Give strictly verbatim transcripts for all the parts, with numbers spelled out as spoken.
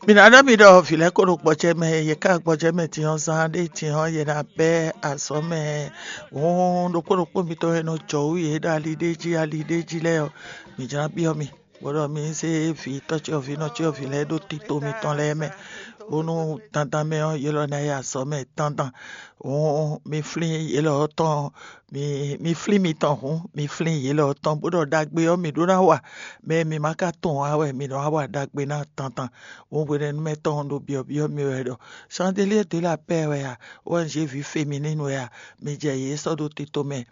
Mi ná ɖɔ mi ɖɔ vǐ lɛ́ɛ ko ɖo gbɔjɛ mɛ, yě ka gbɔjɛ mɛ din ɔ́, zán ɖé din ɔ́, yě ná bɛ́ azɔ̌ mɛ. Hǔn ɖokpó ɖokpó mitɔn e nɔ jɔ wú yě ɖo ali ɖé jí, ali ɖé jí lɛ́ɛ ɔ́, mǐ jlá byɔ́ mi, bó ɖɔ mi zé vǐ tɔ́cyɔvǐ nɔcyɔvǐ lɛ́ɛ ɖó tito mitɔn lɛ́ɛ mɛ, bónú dandan mɛ ɔ́, yě lɔ ná yi azɔ̌ mɛ dandan. Hǔn mi flín yě lɔ tɔn, mi mi flín mitɔn hǔn, mi flín yě lɔ tɔn, bó ɖɔ ɖagbe ɔ́, mǐ ɖó ná wa. Mɛ e mǐ ma ka tunwun ǎ wɛ mǐ nɔ wá wa ɖagbe ná tantan. Hǔn hwenɛ́nu mɛ tɔn ɖo byɔ̌byɔ́ mì wɛ ɖɔ: "Chandelier de la paix wɛ a? O N G vǐ féminine wɛ a? Mi jɛ yě sɔ́ ɖó tito mɛ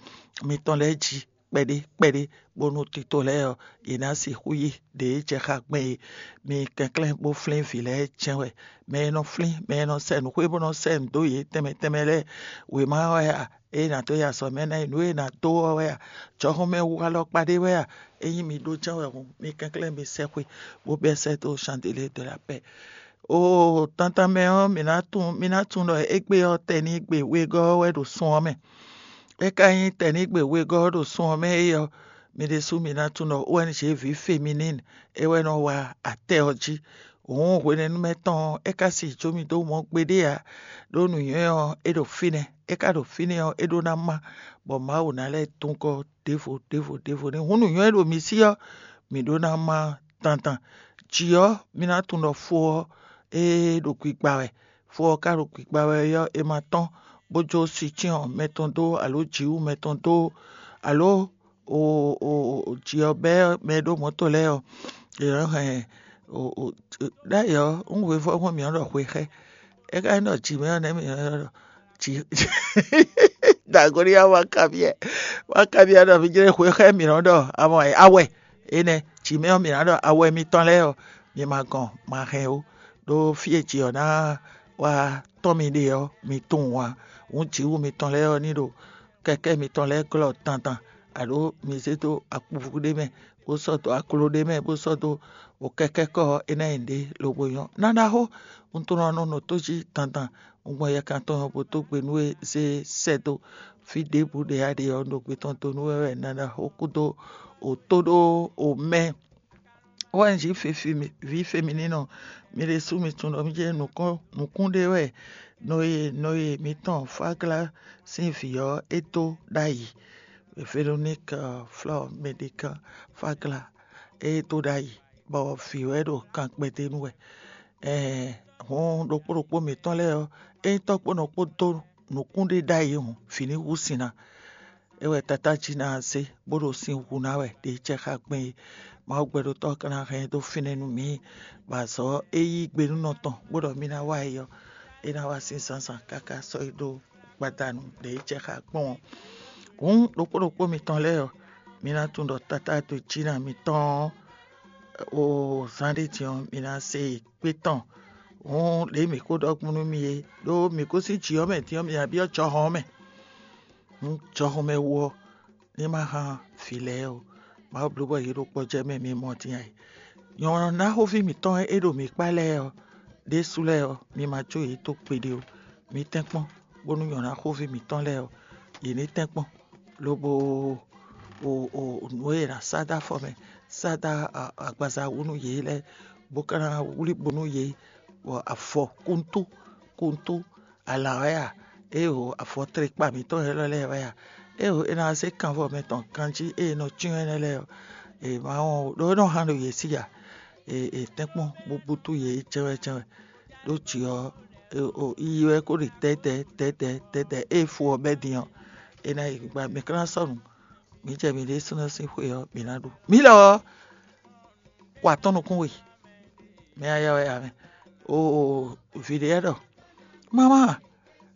mitɔn lɛ́ɛ jí kpɛɖé kpɛɖé, bónú tito lɛ́ɛ ɔ́, yě ná sixú yí ɖě jɛ xá gbɛn é. Mi kɛnklɛ́n bó flín vǐ lɛ́ɛ jɛ́n wɛ. Mɛ e nɔ flín, mɛ e nɔ sɛ nǔxwé bó nɔ sɛ nǔ dó yě tɛnmɛ tɛnmɛ lɛ́ɛ, wěma wɛ a? Ée nǎ dó yi azɔ̌ mɛ ná yi nǔ e è nǎ dó ɔ́ wɛ a? Jɔhɔn mɛ wu alɔkpa ɖé wɛ a? Ényí mi ɖó jɛ́n wɛ hǔn, mi kɛnklɛ́n mi sɛ́xwe, bó bɛ́ sɛ́ dó Chandelier de la paix. Oo, tantan mɛ ɔ́, mǐ ná tunwun, mǐ ná tunwun ɖɔ égbé ɔ́, tɛnígbe wegɔ́ ɔ́ wɛ ɖo sun ɔ́ mɛ. É ka nyí tɛnígbe wegɔ́ ɔ́ ɖo sun ɔ́ mɛ é ɔ́, mi ɖésú mi ná tunwun ɖɔ O N G vǐ féminine é wɛ nɔ wa atɛ ɔ́ jí. Hǔn hwenɛ́nu mɛ tɔn ɔ́, é ka si jó mì dó mɔ gbeɖé ǎ, ɖó nǔnywɛ́ ɔ́, é ɖo fínɛ́. É ka ɖo fínɛ́ ɔ́, é ɖó ná má, bɔ Mawu ná lɛ́ dun gɔ́ ɖěvo ɖěvo ɖěvo n'i. Hǔn nǔnywɛ́ e ɖo mi sí ɔ́, mǐ ɖó ná má dandan. Jǐ ɔ́, mi ná tunwun ɖɔ fo ɔ́, é ɖo gbigba wɛ. Fo ɔ́ ka ɖo gbigba wɛ ɔ́, è ma tɔ́n bó jó sicyɔn mɛtɔn dó, alo jǐwú mɛtɔn dó, alo jǐ ɔ́ bɛ́ mɛ e ɖó mɔ̌to lɛ́ɛ ɔ́, è nɔ́ hɛn ɖ'ayǐ ɔ́, un hwevɔ́ gbɔn mǐ nɔ́ ɖɔ xwe xá ɛ. É ka nyí ɖɔ jǐ mɛ ɔ́ nɛ́ mǐ nɔ́ ɖɔ jǐ dagoni ya wá kabyɛ wá kabyɛ ɖɔ mǐ jlé xwe xá ɛ mǐ nɔ́ ɖɔ awɛ awɛ énɛ́ jǐ mɛ ɔ́ mǐ ná ɖɔ awɛ mitɔn lɛ́ɛ ɔ́, mi ma gɔn ma hɛn ó, ɖó fí e jǐ ɔ́ ná wá tɔ́n mi ɖe ɔ́, mi tunwun ǎ. Hǔn jǐwú mitɔn lɛ́ɛ ɔ́ ní ɖo kɛkɛ́ mitɔn lɛ́ɛ glɔ́ dandan, aɖǒ mi zé dó akpuvú ɖé mɛ, bó sɔ́ dó akló ɖé mɛ, bó sɔ́ dó kɛkɛ́kɔ ɔ́, é ná nyí nǔɖé lobo nyɔ́. Ná ɖaxó, un tunwun ɖɔ un nɔ nɔ tó jí dandan, un gbɔn yɛkan tɔn ɔ́ bó dó gbe nú we zé sɛ́ dó fí ɖěbǔ ɖě a ɖe ɔ́, un ɖo gbe tɔn dó nú we wɛ ná ɖaxó kúdó òtó ɖó omɛ. Wɛ un jí vǐ féminínɔ, mi ɖésú mi tunwun ɖɔ mì jɛ nǔkún ɖé wɛ Nɔye Nɔye mǐtɔn Fáglá sín vǐ ɔ́ é dó ɖ'ayǐ. Véroník Flɔ́ɔ Mɛɖikan Fáglá é dó ɖ'ayǐ, bɔ vǐ wɛ ɖo kan kpɛdé nú wɛ. Ɛɛn hǔn ɖokpó ɖokpó mǐtɔn lɛ́ɛ ɔ́, ényí tɔ́ kpó nɔ kpó dó nǔkún ɖé ɖ'ayǐ hǔn, vǐ ní hú sin ná. É wɛ Tatá jí ná zé, bó ɖo sin hu ná wɛ ɖě jɛ xá gbɛn é. Mawu gbɛɖotɔ́ ɔ́ ka ná hɛn ɛ dó fínɛ́ nú mǐ, bɔ azɔ̌ e yí gbe nú nɔ tɔn bó ɖɔ mì ná wa é ɔ́, é ná wá sín zǎnzǎn káká sɔ́ yi ɖó gbadanu ɖě jɛ xá gbɔn ɔ́. Hǔn ɖokpó ɖokpó mitɔn lɛ́ɛ ɔ́, mi ná tunwun ɖɔ Tatá dó jí ná mitɔn ɔ́, o zán ɖé din ɔ́, mi ná se kpé tɔn. Hǔn ɖě mǐ ko ɖɔ gbɔn nú mi é, ɖó mǐ gosín jǐ ɔ́ mɛ din ɔ́, mǐ ná byɔ́ jɔhɔn ɔ́ mɛ. Hǔn jɔhɔn mɛ wú ɔ́, ní ma hán vǐ lɛ́ɛ ó. Mawu bló bɔ yě ɖo kpɔ́ jɛ mɛ mi mɔ din ǎ. Nyɔ̌ná xóví mǐtɔn e ɖo mǐ kpá lɛ́ɛ ɔ́, ɖésú lɛ́ɛ ɔ́, mi ma jó yě dó gbeɖé ó. Mi tɛ́nkpɔ́n, bónú nyɔ̌ná xóví mǐtɔn lɛ́ɛ ɔ́, yě ní tɛ́nkpɔ́n, lobo o o nǔ e è nǎ sá dó afɔ mɛ, sá dó agbaza wú nú yě lɛ́ɛ, bó ka ná wlí bo nú yě, bɔ afɔ kuntú kuntú alǎ wɛ a? Éeǒ, afɔ tlekpa mǐtɔn élɔ́ lɛ́ɛ wɛ a? Éeǒ, è nǎ zé kanvɔ mɛtɔn ganjí e è nɔ cyɔ́n énɛ́ lɛ́ɛ ɔ́, è ma wɔn ó, ɖó é nɔ hán ɖo yě sí a? È tɛ́nkpɔ́n bó bútú yě jɛ́wɛ́jɛ́wɛ́. Ɖó jǐ ɔ́, yiyi wɛ kó ɖi tɛ́tɛ́ tɛ́tɛ́ tɛ́tɛ́, ée fo ɔ́ bɛ́ din ɔ́, è nǎ yi gbigba. Mǐ ka ná sɔ́ nǔ, mǐ jɛ mǐ ɖésúnɔ sín xwe ɔ́, mǐ ná ɖu. Mǐ lɔ ɔ́, kɔ atɔ́ nukún we, mɛ ayɔ́ wɛ ǎ mɛ. Oo, vǐ ɖé lɛ́ɛ ɖɔ: "Mamá,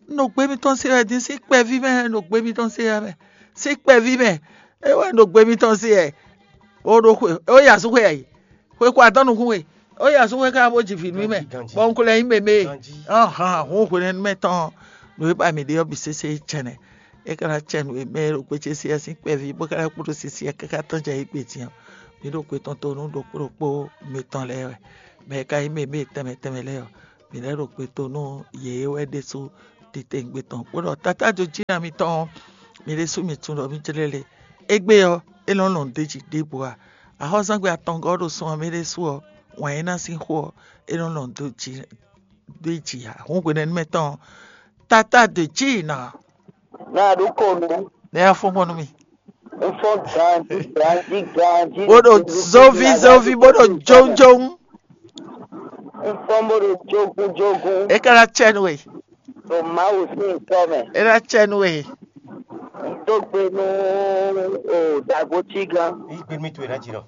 un ɖo gbé mitɔn se wɛ din, sín kpɛví mɛ un ɖo gbé mitɔn se wɛ mɛ, sín kpɛví mɛ é wɛ un ɖo gbé mitɔn se wɛ." Ó ɖó xwe, ó yi asúxwe ǎ yi, xwe kɔ atɔ́ nukún we, ó yi asúxwe ká bó ji vǐ nú mɛ, bɔ un ko lɛ́ nyí mɛmɛ e. Ɔ́han, hǔn hwenɛ́nu mɛ tɔn nǔ e ba mǐ ɖe ɔ́ bǐ sésé jɛnɛ. É ka ná cɛ nǔ e mɛ e ɖo gbéjé sí ɛ sín kpɛví, bó ka ná kpo ɖó sisi ɛ káká tɔ́n jɛ égbé din ɔ́, mǐ ɖo gbe tɔn to nú ɖokpó ɖokpó mitɔn lɛ́ɛ wɛ. Mɛ e ka nyí mɛ e mɛ tɛnmɛ tɛnmɛ lɛ́ɛ ɔ́, mǐ lɛ́ ɖo gbe to nú yě wɛ ɖésú titewungbe tɔn, bó ɖɔ: "Tatá jó jí ná mitɔn ɔ́, mi ɖésú mi tunwun ɖɔ mì jlɛ́ le. Égbé ɔ́, é nɔ lɔn ɖ'é jí ɖěbǔ ǎ. Axɔ́zangbe atɔngɔ́ ɔ́ ɖo sun ɔ́ mɛ ɖésú ɔ́, wǎn é ná sín xó ɔ́, é nɔ lɔn dó jǐ dó jǐ ǎ. Hǔn hwenɛ́nu mɛ tɔn ɔ́, tata dǒ jǐ ná. Ná ɖó kɔnu. Nɛ́ yá fɔ́n gbɔn nú mì. Un fɔ́n ganjí ganjí ganjí. Bó ɖo zóví zóví bó ɖo jónjóng. Un fɔ́n bó ɖo jógún jógún. É ka ná cɛ nú we. Ɖo Mawu sín ŋkɔ mɛ. É ná cɛ nú we. Un dó gbe nú o dagbo cígán. Yí gbe nú mì towe ná jǐ nɔ.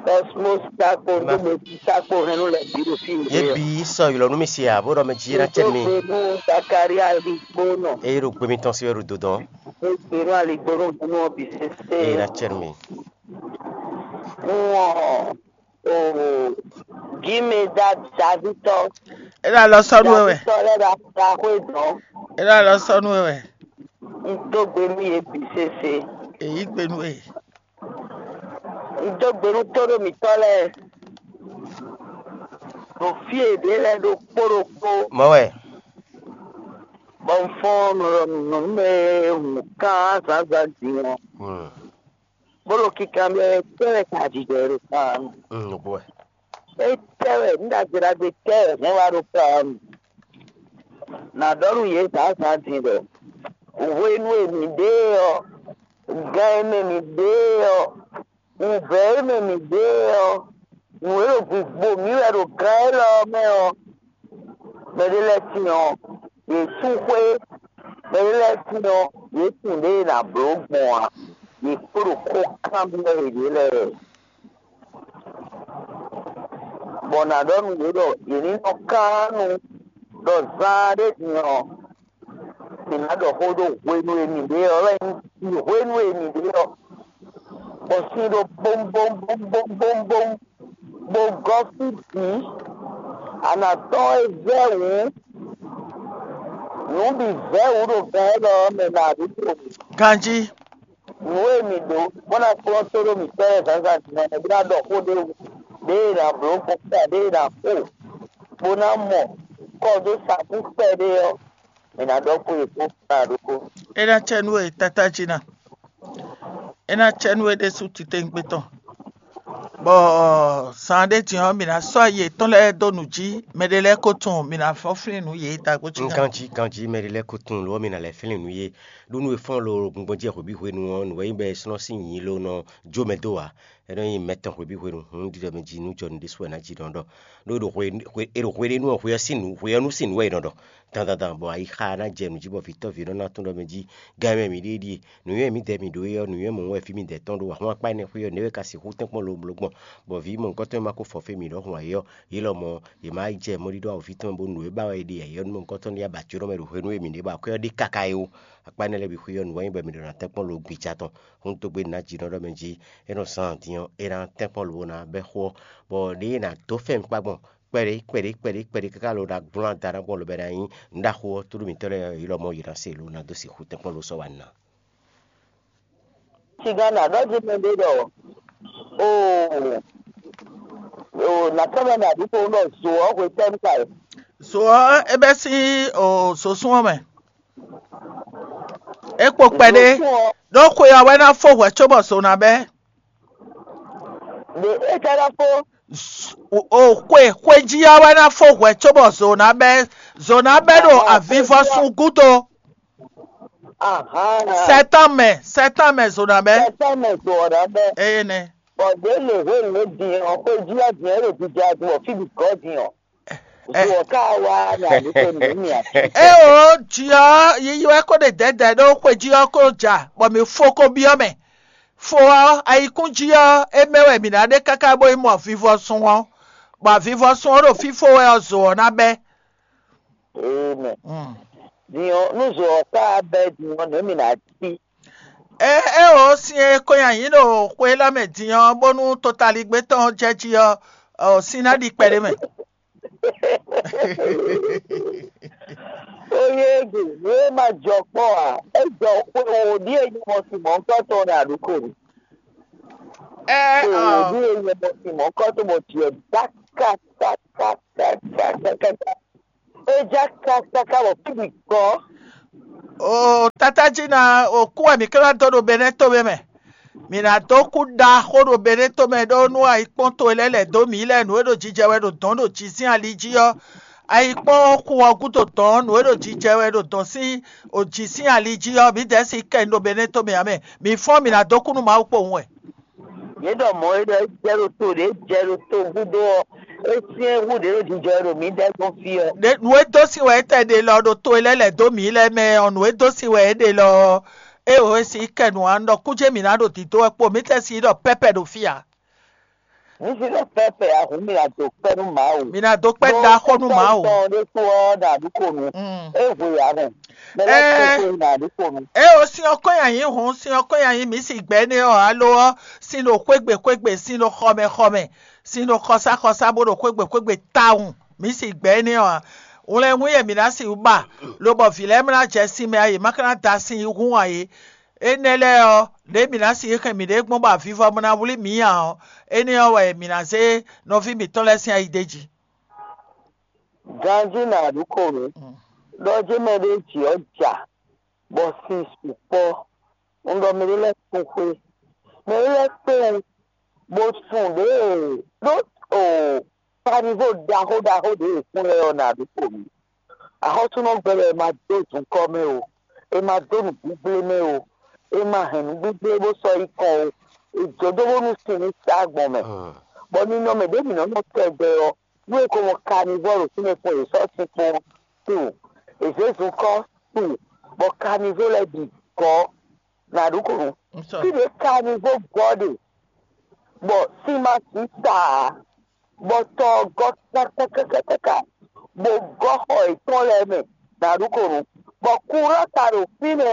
Cosmos Sakpo, Ba- dó gbe nú Sakpo hɛn nú lɛ bǐ ɖo fí Yě ɖé. Bǐ sɔ ylɔ̌ nú mì se ǎ, bó ɖɔ mɛ jí é ná cɛ nú mì. Dó gbe nú Zakaria Aligbónɔ. Eye ɖo gbe mitɔn sí wɛ ɖo dodɔn. Dó gbe nú Aligbónɔ nú ɔ́ bǐ sésé. Eye ná cɛ nú mì. Nú ɔ́, o gǐmɛ da Davítɔ. É ná lɔ sɔ́ nú we wɛ. Davítɔ lɛ́ɛ ɖo aɖaxwé dɔn. É ná lɔ sɔ́ nú we wɛ. Un dó gbe nú yě bǐ sésé. Èyí gbe nú we. Un dó gbe nú tóɖó mǐtɔn lɛ́ɛ. Ɖo fí e ɖě lɛ́ɛ ɖokpó ɖokpó. Mɔ̌ wɛ. Bɔ un fɔ́n nɔ nɔ nú mɛ e hun kán zǎnzǎn din ɔ́. Hmm. Bó ɖo kinkanbyɔ́ wɛ tɛ́ wɛ ka jijɛ ɖo kan. Hmm, nǔgbó wɛ. Étɛ́ wɛ nǔ ɖagbe ɖagbe tɛ́ wɛ hɛn wá ɖo kan? Nǎ ɖɔ nú yě zǎnzǎn din ɖɔ hwenu e mǐ ɖe ɔ́, gan e mɛ mǐ ɖe ɔ́, wǔvɛ́ e mɛ mǐ ɖe ɔ́, nǔ e ɖo gbǐgbo mǐ wɛ ɖo gan élɔ́ ɔ́ mɛ ɔ́, mɛɖé lɛ́ɛ tín ɔ́, yě sú xwé, mɛɖé lɛ́ɛ tín ɔ́, yě tunwun ɖěe è nǎ bló gbɔn ǎ, yě kpo ɖo xó kanbyɔ́ yěɖée lɛ́ɛ. Bɔ nǎ ɖɔ nú yě ɖɔ yě ní nɔ kán nu ɖɔ zaan ɖé din ɔ́, mǐ ná ɖɔ xó ɖó hwenu e mǐ ɖe ɔ́ wɛ nyí hwenu e mǐ ɖe ɔ́, bɔ sin ɖo bómbómbómbómbóm, bó gɔ́ fí bǐ. A nǎ tɔ́n é vɛ́ wǔ, nǔ bǐ vɛ́ wǔ ɖo gan élɔ́ ɔ́ mɛ nǎ ɖu to. Ganjí. Nǔ e mǐ ɖó bó ná kplɔ́n tó ɖó mǐtɔn lɛ́ɛ zǎnzǎn din ɔ́, mɛ bó ná ɖɔ xó ɖé wú, ɖěe è nǎ bló gbɔn kpɛɖé e è nǎ xo, bó ná mɔ kɔ dó sakú kpɛɖé ɔ́, è nǎ ɖɔ xó e kpó kpá ɖokpó. É ná cɛ nú we tátájí ná. É ná cɛ nú we ɖésú titewungbe tɔn. Bɔ zan ɖé din ɔ́, mǐ ná sɔ́ ayi yětɔn lɛ́ɛ dó nǔ jí, mɛɖé lɛ́ɛ ko tunwun, mǐ ná fɔ́n flín nǔ yě da gbo cí gán. Ganjí ganjí mɛɖé lɛ́ɛ ko tunwun lǒ ɔ́, mì nǎ lɛ́ flín nǔ yé. Ɖó nú e fɔ́n lo gbɔngbɔn jí hwebǐ hwenu ɔ́, nǔ wɛ nyí bɔ è slɔ́n sín nyǐ lo nɔ jó mɛ dó ǎ. É nɔ nyí mɛ tɔn hwebǐ hwenu, hǔn ɖiɖɔ mɛ jí nú jɔ nǔ ɖésú wɛ ná jí ɖɔn ɖɔ. Ɖó è ɖo hwe è ɖo hwe ɖé nú ɔ́, hwe ɔ́ sín nǔ hwe ɔ́ nú sín nǔ wɛ è nɔ ɖɔ. Dandandan bɔ ayixa ná jɛ nǔ jí bɔ vǐtɔ́ví nɔ ná tún ɖɔ mɛ jí gán mɛ mǐ ɖíe ɖíe. Nǔnywɛ́ mǐdɛɛ mǐ ɖó é ɔ́, nǔnywɛ́ mɔ̌ wɛ fí mǐdɛɛ tɔn ɖó ahwan akpá énɛ́ xwé ɔ́, nɛ̌ wɛ ka sixú tɛ́nkpɔ́n lobló gbɔn, bɔ vǐ mɔ̌hunkɔtɔn e ma ko fɔ fí mǐ ɖɔhun ǎ é ɔ́, yě lɔmɔ̌ yě má yi jɛ mɔɖíɖó awǒvi tɔn mɛ bónú nǔ e ba wɛ è ɖe ǎ é ɔ́ nú mɔ̌hunkɔtɔn ní yi abǎcyóɖɔ mɛ ɖo hwenu e mǐ ɖe bɔ akwɛ́ ɔ́ ɖe káká é ó. Akpá énɛ́ lɛ́ɛ bǐ xwé ɔ́, nǔ wɛ nyí bɔ mǐ ɖo ná tɛ́nkpɔ́n lo gbija tɔn. Hún dó gbe nǎ jǐ nɔ ɖɔ mɛ jí é nɔ zan din ɔ́, é ná tɛ́nkpɔ́n lo bó ná bɛ́ xó ɔ́, bɔ ɖěe è nǎ dó fɛ́n mì kpá gbɔn kpɛɖé kpɛɖé kpɛɖé kpɛɖé káká lo ɖo agblan da ná gbɔn lobɛ ná nyí nǔɖaxó ɔ́, tóɖó mǐtɔn lɛ́ɛ yě lɔmɔ̌ yě ná se lo ná dó sixú tɛ́nkpɔ́n lo sɔ́ wa ná. Sigan ná ɖɔ jí mɛ ɖé ɖɔ o o nǎ tɔ́ mɛ nǎ ɖu ko ɖɔ zo ɔ́ hwetɛ́nu ka e? Zo ɔ́, é bɛ́ sín o zosún ɔ́ mɛ. É kpo kpɛɖé. Zosún ɔ́, ɖó xwe ɔ́ wɛ ná fó hwɛ̌ cóbɔ zo ná bɛ́. Ɖe é ka ná fó. O xwe xwe jí ɔ́ wɛ ná fó hwɛ̌ cóbɔ zo ná bɛ́. Zo ná bɛ́ ɖo avivɔsun gúdo. Ahán. Sɛtánmɛ, sɛtánmɛ zo ná bɛ́. Sɛtánmɛ zo ɔ́ ná bɛ́. Eye nɛ. Bɔ ɖě lě hwenu e din ɔ́, xwe jí ɔ́ din ɔ́ ɖo jija din bɔ fí bǐ gɔ́ din ɔ́. Zo ɔ́ ka wá nyi aɖúgbò nǔ mì ǎ. É o jí ɔ́, yiyi wɛ kó ɖe dɛ̌dɛ̌ ɖó xwe jí ɔ́ kó ja, bɔ mǐ fó kó byɔ́ mɛ. Fo ɔ́, ayikún jí ɔ́, é mɛ wɛ mǐ ná ɖe káká bó yi mɔ avivɔsun ɔ́, bɔ avivɔsun ɔ́ ɖo fífó wɛ ɔ́, zo ɔ́ ná bɛ́. Amen. Mm. Din ɔ́, nú zo ɔ́ ka bɛ́ din ɔ́, nɛ̌ mǐ ná cí? É é o sin e ko nyi ayǐ ɖo xwe élɔ́ mɛ din ɔ́, bónú totaligbé tɔn ɔ́ jɛ jí ɔ́, ɔ, sin ná ɖi kpɛɖé mɛ. Oyégu, nǔ e ma jɔ kpɔ́ ǎ, é jɔ xwe wǒ ɖíe nyɔmɔ sin mɔ̌hunkɔtɔn ɔ́ ɖo aɖǔko mɛ. Ɛ Xwe wǒ ɔ, ɖíe nyɔmɔ sin mɔ̌hunkɔtɔn bɔ jǐ ɔ́ já kákákákákáká. É já kákáká bɔ fí bǐ gɔ́. O tata jí ná o kú wɛ mǐ ká ná dó ɖo Benɛ́ tomɛ mɛ. Mǐ ná dó kú ɖaxó ɖo Beneto mɛ ɖó nú ayikpɔ́n towe lɛ́ɛ lɛ̌ dó mǐ lɛ́ɛ nǔ e ɖo jijɛ wɛ ɖo dɔ̌n ɖo jǐ sín ali jí ɔ́. Ayikpɔ́n xu ɔ́ gúdo dɔ̌n nǔ e ɖo jijɛ wɛ ɖo dɔ̌n sín jǐ sín ali jí ɔ́, mǐdɛɛ sixú kɛ ɖo Beneto mɛ ǎ mɛ. Mǐ fɔ́n mǐ ná dó kú nú Mawu kpowun wɛ. Yě ɖɔ mɔ̌ e ɖɔ é jɛ ɖo to ɖě jɛ ɖo to gúdo ɔ́, é syɛ́n hú ɖě ɖo jijɛ wɛ ɖo mǐdɛɛ gbɔn fí ɔ́. Nǔ e dó sin wɛ é tɛ ɖe lɔ ɖo to e lɛ́ lɛ̌ dó mǐ lɛ́ɛ mɛ ɔ́, nǔ e dó sin wɛ é ɖe lɔ ɔ́, é wǒ e sin kɛ nǔ ǎ, un ɖɔ kújé mǐ ná ɖo dǐdó wɛ kpo, mǐ tɛ sin ɖɔ pɛ́pɛ ɖo fí ǎ. Mǐ sin ɖɔ pɛ́pɛ ǎ hǔn mǐ ná dó kpɛ́ nú Mawu. Mǐ ná dó kpɛ́ ɖaxó nú Mawu. Tɔn ɖésú ɔ́ ɖo aɖǔko nu. Mm. É hwe ǎ hɛn. Mɛ lɛ́ɛ Ɛɛ. Kpɛ́ hwe ɖo aɖǔko nu. É o sin ɔ́ kɔn nyi ayǐ hǔn, sin ɔ́ kɔn nyi ayǐ mǐ sin gbɛ̌ énɛ́ ɔ́ ǎ lo ɔ́, sin ɖo xwégbe xwégbe, sin ɖo xɔmɛ xɔmɛ, sin ɖo xɔsá xɔsá bó ɖo xwégbe xwégbe tawun. Mǐ sin gbɛ̌ énɛ́ ɔ́ ǎ. Wlɛnwún yɛ mǐ ná sixú ba, lobɔ vǐ lɛ́ɛ ma ná jɛ sin mɛ ǎ, yě ma ka ná da sin yí hún ǎ é. Énɛ́ lɛ́ɛ ɔ́, lě e mǐ ná sixú hɛn mǐɖée gbɔn bɔ avivɔ ma ná wlí mǐ ǎ ɔ́, énɛ́ ɔ́ wɛ mǐ ná zé nɔví mǐtɔn lɛ́ɛ sín ayi d'é jí. Ganjí nǎ ɖu kǒ nú ɖɔ jé mɛ ɖé jǐ ɔ́ ja, bɔ sin sukpɔ́. Un ɖɔ mɛ ɖé lɛ́ɛ kpɔ́n xwé, mɛ ɖé lɛ́ɛ kpé wú, bó sun ɖěe ɖó o kanivo ɖaxó ɖaxó ɖě e kún lɛ́ɛ ɔ́ nǎ ɖu kǒ nú. Axɔ́súnɔgbɛ lɛ́ɛ ma dó zunkɔ́ mɛ o, è ma dó nǔgbígblé mɛ o, è ma hɛn nǔgbígblé bó sɔ́ yi kɔn o, è jǒ dó bónú sin ní sá gbɔn mɛ. Bɔ ninɔmɛ ɖě mǐ nɔ́ nɔ tɛgbɛ ɔ́, nú è ko mɔ kanivɔ́ ɖo fínɛ́ kpɔ́n, è sɔ́ sin kpɔ́n tunwun, è zě zunkɔ́ tunwun, bɔ kanivɔ́ lɛ́ɛ bǐ gɔ́ nǎ ɖu kǒ nú. Fí ɖě kanivɔ́ gɔ́ ɖe, bɔ sin ma sǐ sa ǎ, bɔ tɔ ɔ́ gɔ́ kákákákáká, bó gɔ́ xɔ yětɔn lɛ́ɛ mɛ nǎ ɖu kǒ nú, bɔ kurá ka ɖo fínɛ́,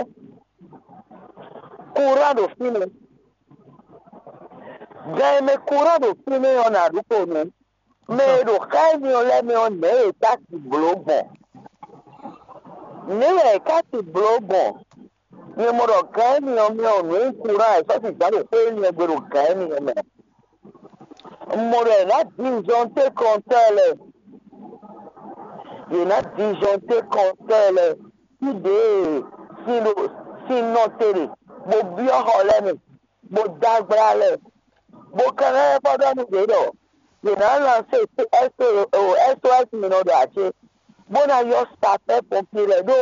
kurá ɖo fínɛ́, gan e mɛ kurá ɖo fínɛ́ ɔ́ nǎ ɖu kǒ nú. Mɛ e ɖo xá énɛ́ ɔ́ lɛ́ɛ mɛ ɔ́, nɛ̌ yě ká ti blǒ gbɔn? Nɛ̌ wɛ yě ká ti blǒ gbɔn? Nyɛ mɔ ɖɔ gan énɛ́ ɔ́ mɛ ɔ́, nǔ e nyí kurá è sɔ́ sixú ɖo xwé énɛ́ ɔ́ gbe ɖo gan énɛ́ ɔ́ mɛ. Un mɔ ɖɔ è nǎ dizɔntékɔntɔ́ lɛ́ɛ, yě ná dizɔntékɔntɔ́ lɛ́ɛ, fí ɖě e sin ɖo sin nɔ te ɖe, bó byɔ́ xɔ lɛ́ɛ mɛ, bó dó agbla lɛ́ɛ, bó ka ná lɛ́ vɔ́ ɖɔ nú yě ɖɔ yě ná lanse S O S mi nɔ ɖo ǎ cé, bó ná yɔ sapɛ́ pɔnpié lɛ́ɛ ɖó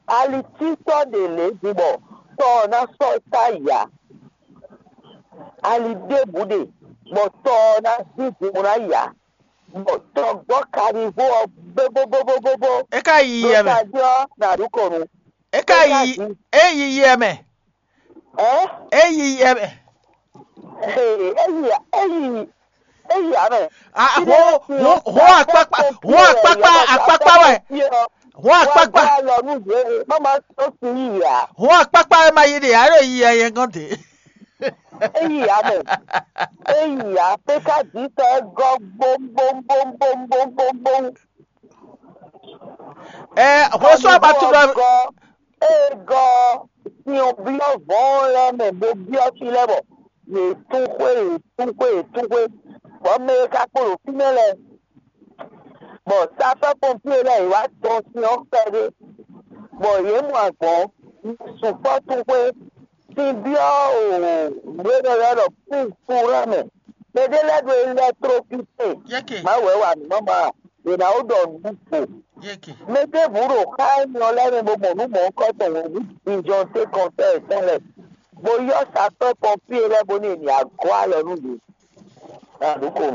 alitítɔ́ ɖě lě din bɔ tɔ ɔ́ ná sɔ́ ta yǎ. Ali ɖěbǔ ɖe, bɔ tɔ ɔ́ ná dín din bó ná yǎ, bɔ tɔ gbɔ kanivo ɔ́ bóbóbóbóbó. É ka yi yɛ mɛ. Tají ɔ́ nǎ ɖu kɔnu. É ka yi é yi yɛ mɛ. Ɛ? É yi yɛ mɛ. Ee, é yi é yi é yi ǎ mɛ. Ah, ho ho ho akpakpa ho akpakpa akpakpa wɛ. Ho akpakpa. Wá lɔ nú yě, má má tó sí yìí ǎ. Ho akpakpa wɛ ma yi ɖe alo yi yɛ yɛ gɔn de. Eyi ame, eyi apeka dzi tɔ egɔ gbomgbomgbomgbomgbomgbom. Ɛ hwesú abatúɖɔ. Egɔ, egɔ, siɔn biɔ vɔn lɛ mɛ bo biɔ fi lɛ bɔ yě tún xwé, yě tún xwé, yě tún xwé, bɔ mɛ e ka kpo ɖo fínɛ́ lɛ, bɔ safɛ pɔnpier lɛ yě wá tɔn sin ɔ́ kpɛɖé, bɔ yě mɔ agbɔ̌n sukpɔ́ tún xwé. Sin byɔ́ o nǔ e nɔ ylɔ́ ɖɔ púpúra mɛ. Mɛɖé lɛ́ɛ ɖo électrocute. Yɛ́kɛ. Mawu wɛ wa nǔ mama. È nǎ wó ɖɔ nǔ gbo. Yɛ́kɛ. Mɛ ɖěbǔ ɖo xá énɛ́ ɔ́ lɛ́ɛ mɛ bó mɔ nǔ mɔ̌hunkɔtɔn hǔn, vǐjɔntékɔntɔ́ yětɔn lɛ́ɛ, bó ylɔ́ sapɛ́ pɔnpier lɛ́ɛ bónú è nǐ wá gɔ́ alɔ nú yě. Nǎ ɖu ko.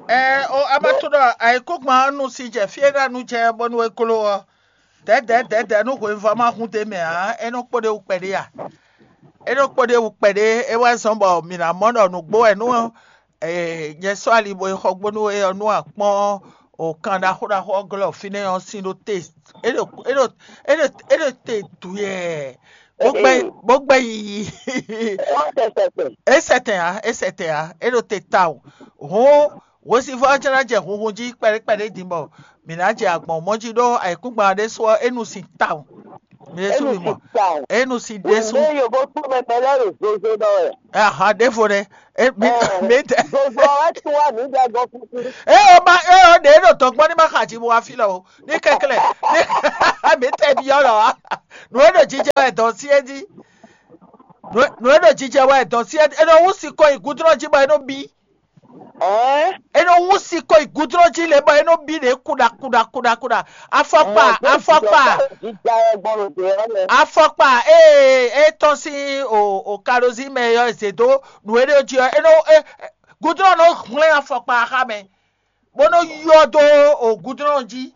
Ɛ o, a ma tunɔ ayǐkúngban ɔ́ nu si jɛ fí e ɖo anu jɛ bónú é gló ɔ́, dɛ̌dɛ̌dɛ̌dɛ̌ nú hweyivɔ́ ma hun d'é mɛ ǎ, é nɔ kpo ɖ'é wú kpɛɖé a? É nɔ kpo ɖ'é wú kpɛɖé, é wɛ zɔ́n bɔ mǐ ná mɔ ɖɔ nǔgbó wɛ nú nyɛ sɔ́ ali bo yi xɔ gbónú é ɔ́, nú a kpɔ́n o kan ɖaxó ɖaxó ɔ́ glɔ́ fínɛ́ ɔ́ sín ɖó te, é ɖo é ɖo é ɖo é ɖo te duyɛɛ, bó gbɛ bó gbɛ yiyi. É sɛtɛn ǎ, é sɛtɛn ǎ, é ɖo te tawun. Hǔn hwesivɔ́ ɔ́ jɛ́n ná jɛ hunhun jí kpɛɖé kpɛɖé din bɔ mǐ ná jɛ agbɔ̌n mɔ jí ɖó ayǐkúngban ɔ́ ɖésú ɔ́, é nu sin tawun. Mǐ ɖésú mǐ mɔ. É nu sin ɖésú. Wěwé yovo kpó mɛmɛ lɛ́ɛ ɖo zozo ɖɔ wɛ. Aha, ɖěvo ɖé. É mi mi tɛ. Zozo ɔ́ wɛ tún wá mǐ ɖɛ gɔ́ fúfú. É o ma é o ɖě ɖo dɔn gbɔn ní ma xa jí bo wá fí lɔ o. Ní kɛklɛ ní mi tɛ byɔ́ lɔ wá. Nǔ e ɖo jijɛ wɛ dɔn sí é jí. Nǔ e nǔ e ɖo jijɛ wɛ dɔn sí é nɔ wú sikɔ yi gúdúnɔ jí bɔ é nɔ bí. Ɛɛ, É nɔ wú sikɔ yi gúdúnɔ jí lě bɔ é nɔ bí ɖě kuɖa kuɖa kuɖa kuɖa. Afɔkpa, afɔkpa, jija wɛ gbɔn ɖo dě ɔ́ lɛ. Afɔkpa e e tɔ́n sín o o kalozí mɛ ɔ́ e zě dó nǔ e ɖe jí ɔ́, é nɔ é gúdúnɔ nɔ hwlɛ́n afɔkpa xá mɛ, bó nɔ yɔ dó o gúdúnɔ jí.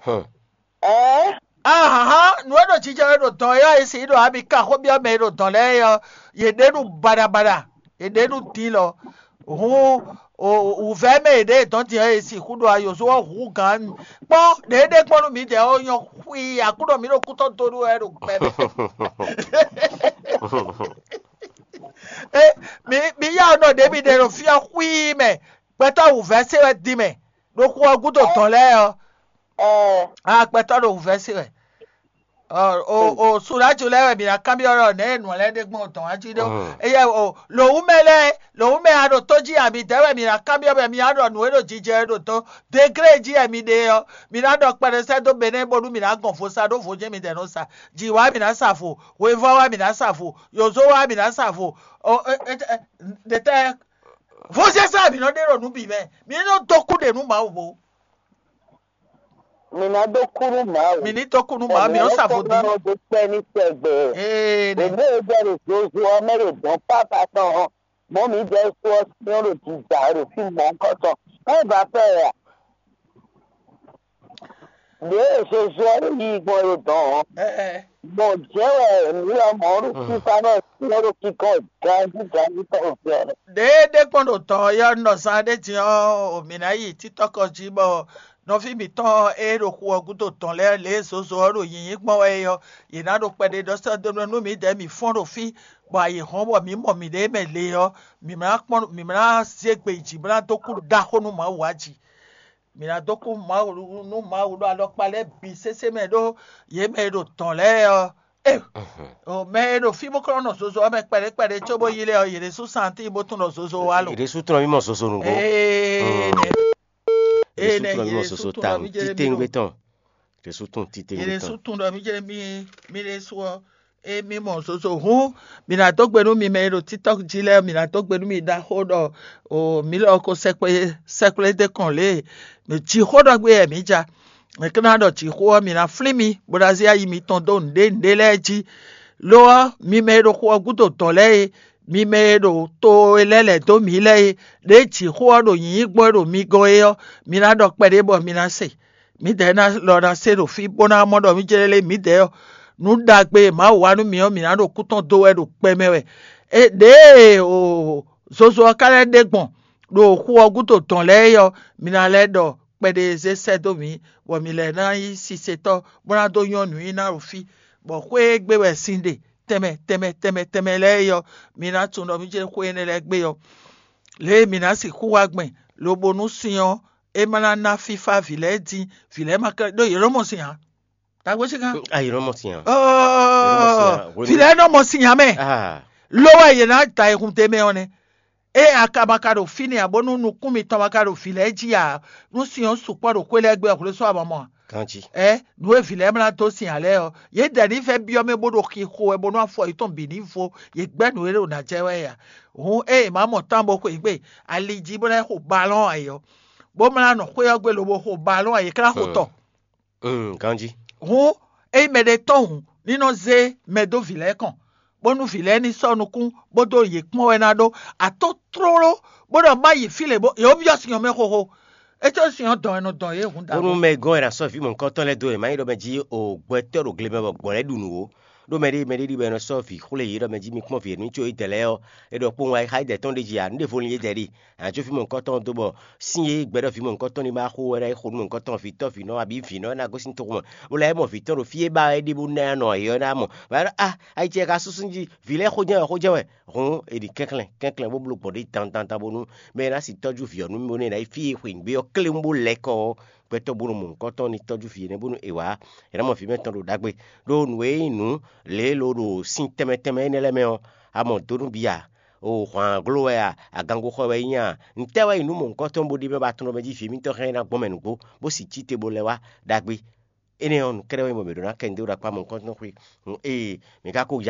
Ɛɛ, Ahan, nǔ e ɖo jijɛ wɛ ɖo dɔn e ɔ́, e sixú ɖɔ ami ka xó byɔ́ mɛ e ɖo dɔn lɛ́ɛ é ɔ́, yě ɖe nú baɖabaɖa, yě ɖe nú din lɔ. Hǔn wǔvɛ́ mɛ e ɖě dɔn din ɔ́, e sixú ɖo ayǒzó ɔ́ hú gǎn. Kpɔ́n, ɖě ɖe gbɔn nú mǐdɛɛ ɔ́ nyɔ́ xwii, Aklúnɔ mǐ ɖo kútɔ́ dó nú wɛ ɖo gbɛ mɛ. É, mi mi yá nɔ ɖě mi ɖe ɖo fí ɔ́ xwii mɛ, gbɛtɔ́ wǔvɛ́ se wɛ din mɛ, ɖo xu ɔ́ gúdo dɔn lɛ́ɛ ɔ́. Ɛɛ, Aa gbɛtɔ́ ɖo wǔvɛ́ se wɛ. O o Suɖáju lɛ́ɛ wɛ mǐ ná kanbyɔ́ ɖɔ nɛ̌ e nǔ lɛ́ɛ ɖe gbɔn dɔn wá jí ɖó. Éyɛ́ o lǒwúmɛ lɛ́ɛ, lǒwúmɛ a ɖo tó jí a midɛɛ wɛ mǐ ná kanbyɔ́ bɔ mǐ ná ɖɔ nǔ e ɖo jijɛ e ɖo dɔn degré jí wɛ mi ɖe ɔ́, mǐ ná ɖɔ kpɛɖé sɛ́ dó Benɛ́ɛ bónú mǐ ná gɔn vo sa ɖó vo jɛ́n midɛɛ nɔ sa. Jǐ wá mǐ ná sa vo, hwevɔ́ wá mǐ ná sa vo, yǒzo wá mǐ ná sa vo. O e e e ɖetɛ́ vɔ́sɛ́sɛ́ mǐ nɔ ɖe ɖo nǔ bǐ mɛ. Mǐ ní nɔ dó kú ɖe nú Mawu bo. Mǐ ná dó kú nú Mawu. Mǐ ní dó kú nú Mawu, mǐ nɔ sa vodún. Mǐ dó kpɛ́ ní tɛgbɛ. Ee, nɛ. Ɖě e jɛ ɖo zozo ɔ́ mɛ ɖo dɔ̌n pápá tɔn ɔ́, mɔ̌ mǐdɛɛ su ɔ́ syɔ́n ɖo jǐjà ɖo fí mɔ̌hunkɔtɔn. Ká ba fɛ ɛ a? Ɖě e zozo ɔ́ ɖo yiyi gbɔn ɖo dɔ̌n ɔ́, Ɛɛ. Gbɔn jɛ́n wɛ mǐ lɔmɔ̌ ɖo fífá nɔ syɔ́n ɖo kíkɔ ganjí ganjí tɔn ɖo fí ɔ́. Ɖěe ɖé kpɔ́n ɖo dɔ̌n ɔ́ nɔ zán ɖé din ɔ́, mǐ ná yi títɔ́kɔ jí bɔ nɔví mǐtɔn e ɖo xu ɔ́ gúdo dɔ̌n lɛ́ɛ lě e zozo ɔ́ ɖo nyǐnyí gbɔn wɛ é ɔ́, yě ná ɖo kpɛɖé ɖɔ sɛ́ dó nú mǐdɛɛ mǐ fɔ́n ɖo fí, bɔ ayǐ hɔ́n bɔ mǐ mɔ mǐɖée mɛ le ɔ́, mǐ ná kpɔ́n mǐ ná zé gbe yi jǐ bó ná dó kú ɖaxó nú Mawu ǎ jí. Mǐ ná dó kú Mawu nú Mawu ɖo alɔkpa lɛ́ɛ bǐ sésé mɛ ɖó yě mɛ e ɖo dɔ̌n lɛ́ɛ ɔ́. Ee, o mɛ e ɖo fí bó klɔ́n nɔ zozo ɔ́ mɛ kpɛɖé kpɛɖé cóbó yi lɛ́ɛ ɔ́, yě ɖésú santín bó tunwun ɖɔ zozo wá lo. Yě ɖésú tunwun mì mɔ zozo nǔgbó. Ee, nɛ. Yě ɖésú tunwun mì mɔ zozo tawun. Títewungbe tɔn. Yě ɖésú tunwun títewungbe tɔn. Yě ɖésú tunwun ɖɔ mí jɛ mí mí ɖésú ɔ́, émí mɔ zozo hǔn, mǐ ná dó gbe nú mi mɛ e ɖo TikTok jí lɛ́ɛ, mǐ ná dó gbe nú mi ɖaxó ɖɔ o mǐ lɔ ko sɛkplé sɛkplé dé kɔn lě e jǐxó ɖɔ gbé wɛ mǐ ja. È ka ná ɖɔ jǐxó ɔ́, mǐ ná flín mi, bó ná zé ayi mitɔn dó nǔɖé nǔɖé lɛ́ɛ jí. Lo ɔ́, mi mɛ e ɖo xu ɔ́ gúdo dɔ̌n lɛ́ɛ e, mi mɛ e ɖo to e lɛ́ lɛ̌ dó mǐ lɛ́ɛ e, ɖěe jǐxó ɔ́ ɖo nyǐnyí gbɔn e ɖo mi gɔ́n é ɔ́, mi ná ɖɔ kpɛɖé bɔ mi ná se. Mǐdɛɛ ná lɔ ná se ɖo fí bó ná mɔ ɖɔ mí jlɛ́ lé mǐdɛɛ ɔ́, nǔ ɖagbe e Mawu wa nú mǐ ɔ́, mǐ ná ɖo kú tɔn dó wɛ ɖo kpɛ mɛ wɛ. Ɖěe o zozo ɔ́ ka lɛ́ ɖe gbɔn ɖo xu ɔ́ gúdo dɔ̌n lɛ́ɛ é ɔ́, mi ná lɛ́ ɖɔ kpɛɖé e zé sɛ́ dó mǐ, bɔ mǐ lɛ́ ná nyí sisetɔ́, bó ná dó nyɔ́ nǔnyiná ɖo fí, bɔ xwé e gbe wɛ sin ɖe tɛnmɛ tɛnmɛ tɛnmɛ tɛnmɛ lɛ́ɛ é ɔ́, mi ná tunwun ɖɔ mí jlɛ́ xwé énɛ́ lɛ́ɛ gbe ɔ́. Lě e mǐ ná sixú wá gbɛn, lobo nú sin ɔ́, é ma ná ná fífá vǐ lɛ́ɛ dín, vǐ lɛ́ɛ ma ka ɖó yě nɔ mɔ sin ǎ. Tagbó sí kan. Ayi nɔ mɔ sin ǎ. Ɔɔ, vǐ lɛ́ɛ nɔ mɔ sin ǎ mɛ. Ah. Ló wɛ yě ná da ayihun d'é mɛ ɔ́ nɛ́. Ée a ka ma ka ɖo fínɛ́ ǎ, bónú nukún mitɔn ma ka ɖo vǐ lɛ́ɛ jí ǎ, nú sin ɔ́ sukpɔ́ ɖo xwé lɛ́ɛ gbe ɔ́, xwlé sɔ́ a ma mɔ a? Ganjí. Ɛ nǔ e vǐ lɛ́ɛ mlá dó sin ǎ lɛ́ɛ ɔ́, yě dɛ ní vɛ́ byɔ́ mɛ bó ɖo xixo wɛ bónú afɔ yětɔn bǐ ní vo, yě gbɛ́ nǔ e ɖo nǎ jɛ wɛ é ǎ. Hǔn ée è má mɔ tán bó xweyǐgbe ali jí bó ná xo balɔ́n ǎ é ɔ́, bó mlá nɔ xwé ɔ́ gbe lobo xo balɔ́n ǎ, yě ká ná xo tɔ. Mm, ganjí. Hǔn ényí mɛɖé tɔn hǔn, ní nɔ zé mɛ dó vǐ lɛ́ɛ kɔn, bónú vǐ lɛ́ɛ ní sɔ́ nukún, bó dó yě kpɔ́n wɛ ná ɖó. Atɔ́ tlóló, bó ɖɔ má yi fí lě bó yě wó byɔ́ sin ɔ́ mɛ xóxó. É có sin ɔ́ dɔn wɛ nɔ dɔn yě hǔn Bónú dǎwe. Mɛ gɔ́n è nǎ sɔ́ vǐ mɔ̌hunkɔtɔn lɛ́ɛ dó wěma nyi ɖɔ mɛ jí o gbɛtɔ́ ɖo gle mɛ bɔ gbɔ̌ lɛ́ɛ ɖu nǔ ó. Ɖó mɛɖé mɛɖé ɖi bɔ è nɔ sɔ́ vǐ xwlé yě ɖɔ mɛ jí mi kpɔ́n vǐ e nú có yí dɛ lɛ́ɛ ɔ́, é ɖɔ kpowun ayixá yí dɛ tɔn ɖ'é jí ǎ, nǔ ɖěvo lin yé dɛ ɖi. Ǎ có fí mɔ̌hunkɔtɔn dó bɔ sín e gbɛɖɔ vǐ mɔ̌hunkɔtɔn ní ma xo wɛ ná yi xo nú mɔ̌hunkɔtɔn vǐtɔ́ vǐnɔ abǐ vǐnɔ ná gosín toxo mɛ, bó lɛ́ mɔ vǐtɔn ɖo fí e ba wɛ é ɖe bó ná nɔ yě ɔ́ ná mɔ. Vǎ ɖɔ a ayi ce ka súsú jí vǐ lɛ́ɛ xó jɛ́n wɛ xó jɛ́n wɛ. Hǔn è ɖi kɛnklɛ́n kɛnklɛ́n bó bló gbɔn ɖě dandandan bónú mɛ e ná si tɔ́jú vǐ ɔ́ nú mì bónú è nǎ yi fí e xweyǐgbe ɔ́ klé bó lɛ́ kɔ ɔ́, gbɛtɔ́ bó nɔ mɔ nǔkɔntɔn ní tɔ́jú vǐ énɛ́ bónú è wǎ è nǎ mɔ vǐ mɛtɔn ɖo ɖagbe. Ɖó nǔ e nyí nǔ lě e lo ɖo sin tɛnmɛ tɛnmɛ énɛ́ lɛ́ɛ mɛ ɔ́, a mɔ dó nú bǐ ǎ. O hwǎn gló wɛ a, agango xɔ wɛ é nyí a, ntɛ́ wɛ nyí nú mɔ̌hunkɔtɔn bó ɖi mɛ ba tunɔ mɛ jí vǐ émítɔn hɛn ná gbɔn mɛ nǔgbó, bó si cí te bó lɛ́ wá ɖagbe. Énɛ́ ɔ́, nǔ kɛ́ɖɛ́ wɛ nyí bɔ mǐ ɖó ná kɛ nǔ dó ɖo akpá mɔ̌hunkɔtɔn xwé. Ee, mǐ ka ko ya